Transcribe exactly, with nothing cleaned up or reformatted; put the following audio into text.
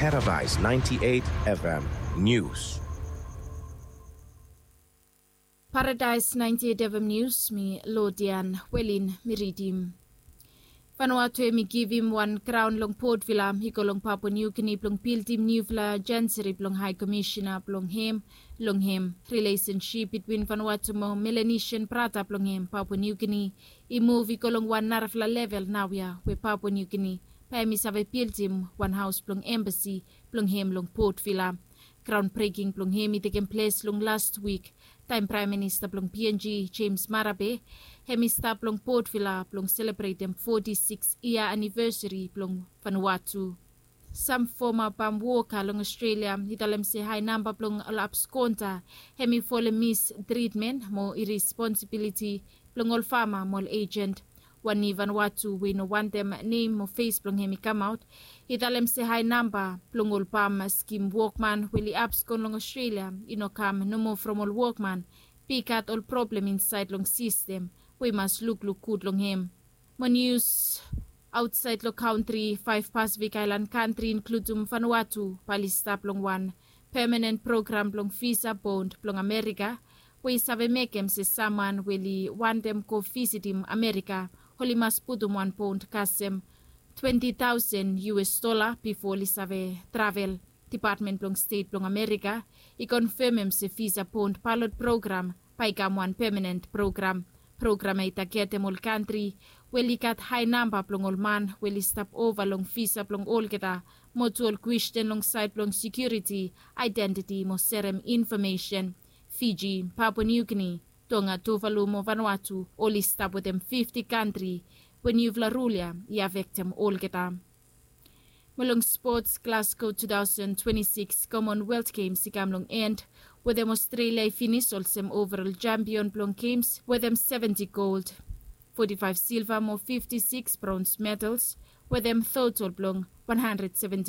Paradise ninety-eight F M News. Paradise ninety-eight F M News, mi Lodian Welin mi ridim. Vanuatu hemi givim wan graon long Port Vila i go long Papua New Guinea blong bildim niufala janseri blong Hai Komisina blong hem long hem rilesensip bitwin Vanuatu mo Melanesian brata blong hem Papua New Guinea i muv i go long wan narafala level naoia we Papua New Guinea bae hemi save bildim wan haos blong embasi blong hem long Port Vila. Graon breking blong hem i tekem ples long las wik taem Praem Minista blong P N G James Marape hemi stap long Port Vila blong selebretem foti sikis yia anivesari blong Vanuatu. Sam foma pam woka long Australia i talem se hae namba blong ol abskonta hemi folem mistritmen mo iresponsibiliti blong ol fama mo ol ejent. Wan ni Vanuatu we i no wantem nem mo fes blong hem i kamaot i talem se hae namba blong ol pam skim wokman we oli abskon long Australia i no kam nomo from ol wokman be i gat ol problem insaed long sistem we i mas lukluk gud long hem. Mo nius aotsaed long kantri, faef Pasifik aelan kantri inkludim Vanuatu bae oli stap long wan pemanen program blong visa bond blong Amerika we i save mekem se samwan we oli wantem go visitim Amerika oli mas putum wan bond kasem twenti taosen U S dola bifo oli save travel. Depatmen blong Stet blong Amerika i konfemem se visa bond balot program bae i kam wan pemanen program. Program ya i tagetem ol kantri we oli gat hae namba blong ol man we oli stap ova long visa blong olgeta mo tu ol kwesten long saed blong sekiuriti, aedentiti mo serem infomesen. Fiji, Papua New Guinea, Tonga, Tuvalu mo Vanuatu oli stap wetem fifti kantri we niufala rul ya i afektem olgeta. Mo long spots, Glasgow two thousand twenty-six Commonwealth Games i kam long en wetem Australia i finis olsem overall champion blong games wetem seventy gold, forty-five silver mo fifty-six bronze medals wetem total blong one hundred seventy